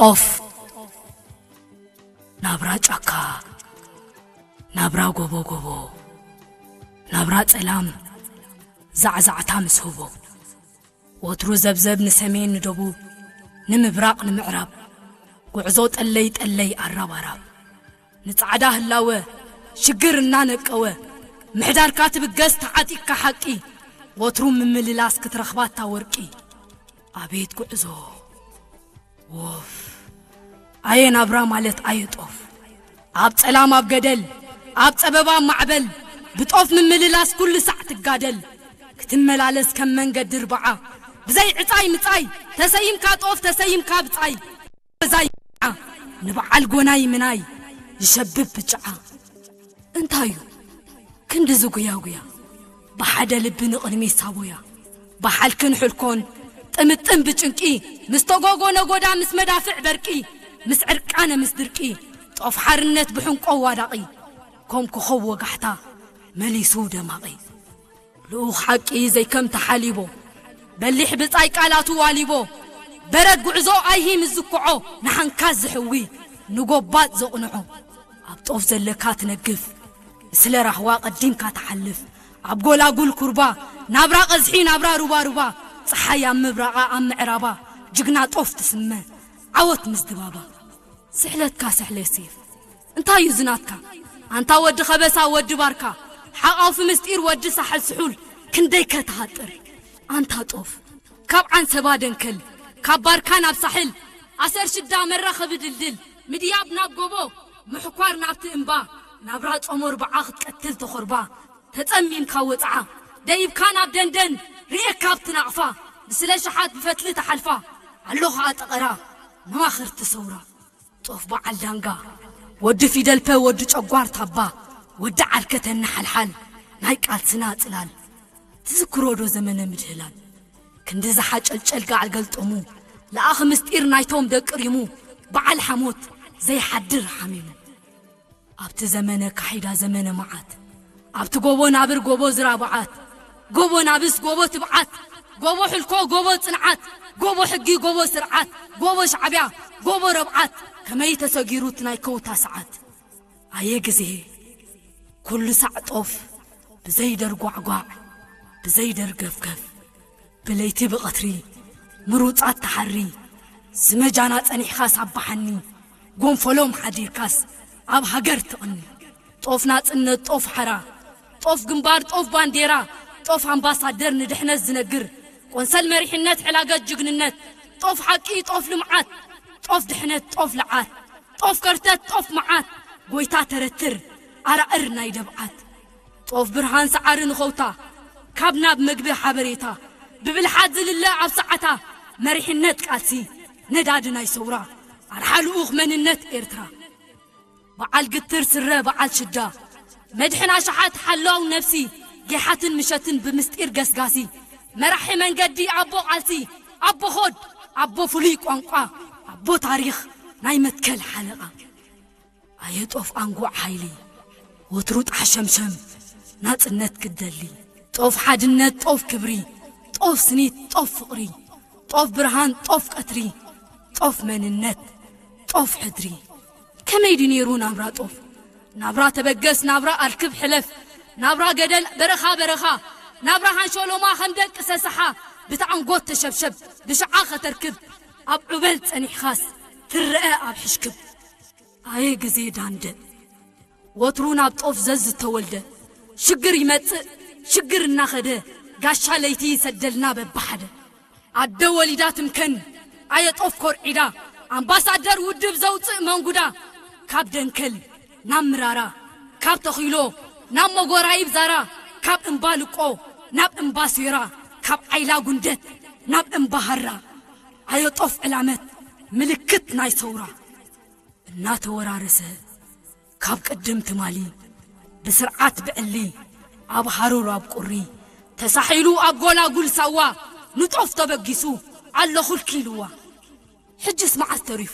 ጦፍ። ናብራ ጫካ፣ ናብራ ጎቦ ጎቦ፣ ናብራ ጸላም፣ ዛዕዛዕታ ምስ ህቦ። ወትሩ ዘብዘብ ንሰሜን ንደቡብ፣ ንምብራቕ ንምዕራብ፣ ጉዕዞ ጠለይ ጠለይ ኣራብ ኣራብ። ንጻዕዳ ህላወ ሽግር እናነቀወ፣ ምሕዳርካ ትብገስ ተዓጢቅካ ሓቂ፣ ወትሩ ምምልላስ ክትረኽባ እታ ወርቂ። ኣቤት ጉዕዞ! ወፍ! ኣየ ናብራ ማለት ኣየ ጦፍ! ኣብ ጸላም ኣብ ገደል፣ ኣብ ጸበባ ኣብ ማዕበል፣ ብጦፍ ምምልላስ ኩሉ ሳዕ ትጋደል። ክትመላለስ ከም መንገዲ ርብዓ፣ ብዘይ ዕጻይ ምጻይ፣ ተሰይምካ ጦፍ ተሰይምካ ብጻይ። በዛይ ንበዓል ጎናይ ምናይ ይሸብብ ብጭዓ። እንታዩ ክንዲ ዝጉያጉያ፣ ብሓደ ልቢ ንቕድሚት ሳቦያ፣ ብሓልክን ሕልኮን ጥምጥም ብጭንቂ፣ ምስ ተጎጎ ነጎዳ ምስ መዳፍዕ በርቂ፣ ምስ ዕርቃነ ምስ ድርቂ፣ ጦፍ ሓርነት ብሕንቆ ዋዳቒ፣ ኮም ኮኸብ ወጋሕታ መሊሱ ደማቒ። ልኡኽ ሓቂ ዘይከም ተሓሊቦ፣ በሊሕ ብጻይ ቃላቱ ዋሊቦ፣ በረድ ጉዕዞ ኣይሂ ምስ ዝኩዖ፣ ንሓንካስ ዝሕዊ ንጎባጥ ዘቕንዖ። ኣብ ጦፍ ዘለካ ትነግፍ፣ ስለ ራህዋ ቀዲምካ ትሓልፍ፣ ኣብ ጎላጉል ኩርባ፣ ናብራ ቀዝሒ ናብራ ሩባ ሩባ፣ ጸሓይ ኣብ ምብራቓ ኣብ ምዕራባ፣ ጅግና ጦፍ ትስመ፣ ዓወት ምስ ድባባ። ስሕለትካ ስሕለት ሴፍ። እንታይ እዩ ዝናትካ? ኣንታ ወዲ ኸበሳ፣ ወዲ ባርካ፣ ሓቓፊ ምስጢር፣ ወዲ ሳሕል ስሑል፣ ክንደይ ከተሃጥር። ኣንታ ጦፍ፣ ካብ ዓንሰባ ደንከል፣ ካብ ባርካ ናብ ሳሕል፣ ኣሰር ሽዳ መራኸቢ ድልድል፣ ምድያብ ናብ ጎቦ፣ ምሕኳር ናብቲ እምባ፣ ናብራ ጾም ኣርብዓ ክትቀትል ተኾርባ፣ ተጸሚምካ ወጽዓ፣ ደይብካ ናብ ደንደን፣ ርእየካ ኣብቲ ናቕፋ፣ ብስለ ሸሓት ብፈትሊ ተሓልፋ፣ ኣሎ ኸኣ ጠቐራ፣ መማኽርቲ ሰውራ። ጦፍ በዓል ዳንጋ፣ ወዲ ፊደልፐ፣ ወዲ ጨጓር ታባ፣ ወዲ ዓርከተና ሓልሓል፣ ናይ ቃልስና ጽላል። ትዝክሮ ዶ ዘመነ ምድህላል? ክንዲ ዝሓጨልጨል ጋዕል ገልጠሙ፣ ለኣኺ ምስጢር ናይቶም ደቂ ሪሙ፣ በዓል ሓሞት ዘይሓድር ሓሚሙ። ኣብቲ ዘመነ ካሒዳ ዘመነ መዓት፣ ኣብቲ ጎቦ ናብር ጎቦ ዝራብዓት፣ ጎቦ ናብስ ጎቦ ትብዓት፣ ጎቦ ሕልኮ ጎቦ ጽንዓት፣ ጎቦ ሕጊ ጎቦ ስርዓት፣ ጎቦ ሻዕብያ ጎቦ ረብዓት፣ ከመይ ተሰጊሩ እቲ ናይ ከውታ ሰዓት። ኣየ ግዜ፣ ኩሉ ሳዕ ጦፍ ብዘይደር ጓዕጓዕ፣ ብዘይደር ገፍገፍ። ብለይቲ ብቐትሪ ምሩጻት ተሓሪ፣ ስመጃና ጸኒሕካስ ኣባሓኒ፣ ጎንፈሎም ሓዲርካስ ኣብ ሃገር ትቕኒ። ጦፍ ናጽነት፣ ጦፍ ሓራ፣ ጦፍ ግንባር፣ ጦፍ ባንዴራ፣ ጦፍ ኣምባሳደር ንድሕነት ዝነግር፣ ቆንሰል መሪሕነት፣ ሕላገት ጅግንነት፣ ጦፍ ሓቂ፣ ጦፍ ልምዓት፣ ጦፍ ድሕነት፣ ጦፍ ልዓት፣ ጦፍ ከርተት፣ ጦፍ መዓት፣ ጎይታ ተረትር፣ ኣራእር ናይ ደብዓት። ጦፍ ብርሃን ሰዓሪ ንኸውታ፣ ካብ ናብ መግቢ ሓበሬታ፣ ብብልሓት ዝልለ ኣብ ሰዓታ፣ መሪሕነት ቃልሲ፣ ነዳዲ ናይ ሰውራ፣ ኣርሓ ልኡኽ መንነት ኤርትራ። በዓል ግትር ስረ በዓል ሽዳ፣ መድሕን ኣሽሓት ሓላው ነብሲ፣ ጌሓትን ምሸትን ብምስጢር ገስጋሲ፣ መራሒ መንገዲ ኣቦ ቃልሲ፣ ኣቦ ኾድ፣ ኣቦ ፍሉይ ቋንቋ፣ ኣቦ ታሪኽ ናይ መትከል ሓለቓ። ኣየ ጦፍ ኣንጉዕ ሓይሊ፣ ወትሩ ጣሕ ሸምሸም ናጽነት ክትደሊ። ጦፍ ሓድነት፣ ጦፍ ክብሪ፣ ጦፍ ስኒት፣ ጦፍ ፍቕሪ፣ ጦፍ ብርሃን፣ ጦፍ ቀትሪ፣ ጦፍ መንነት፣ ጦፍ ሕድሪ። ከመይ ድዩ ነይሩ ናብራ ጦፍ? ናብራ ተበገስ፣ ናብራ ኣልክብ ሕለፍ፣ ናብራ ገደል በረኻ በረኻ፣ ናብራ ሃንሾሎማ ከም ደቂ ሰሰሓ፣ ብተኣንጎት ተሸብሸብ፣ ብሽዓ ከተርክብ፣ ኣብ ዑበል ጸኒሕኻስ ትረአ ኣብ ሕሽክብ። ኣየ ግዜ ዳንደ፣ ወትሩ ናብ ጦፍ ዘዝተወልደ፣ ሽግር ይመጽእ ሽግር እናኸደ፣ ጋሻ ለይቲ ይሰደልና በብሓደ። ኣደ ወሊዳ ትምከን፣ ኣየ ጦፍ ኮርዒዳ፣ ኣምባሳደር ውድብ ዘውጽእ መንጉዳ፣ ካብ ደንከል ናብ ምራራ፣ ካብ ተኺሎ ናብ መጎራይብ ዛራ፣ ካብ እምባ ልቆ ናብ እምባ ሴራ፣ ካብ ዓይላ ጉንደት ናብ እምባ ሃራ። ኣየ ጦፍ ዕላመት ምልክት ናይ ሰውራ። እናተወራረሰ ካብ ቅድም ትማሊ፣ ብስርዓት ብዕሊ፣ ኣብ ሃሩር ኣብ ቁሪ፣ ተሳሒሉ ኣብ ጎላጉል ሳዋ፣ ንጦፍ ተበጊሱ ኣሎ ኹልኪ ኢልዋ። ሕጅስ መዓስ ተሪፉ?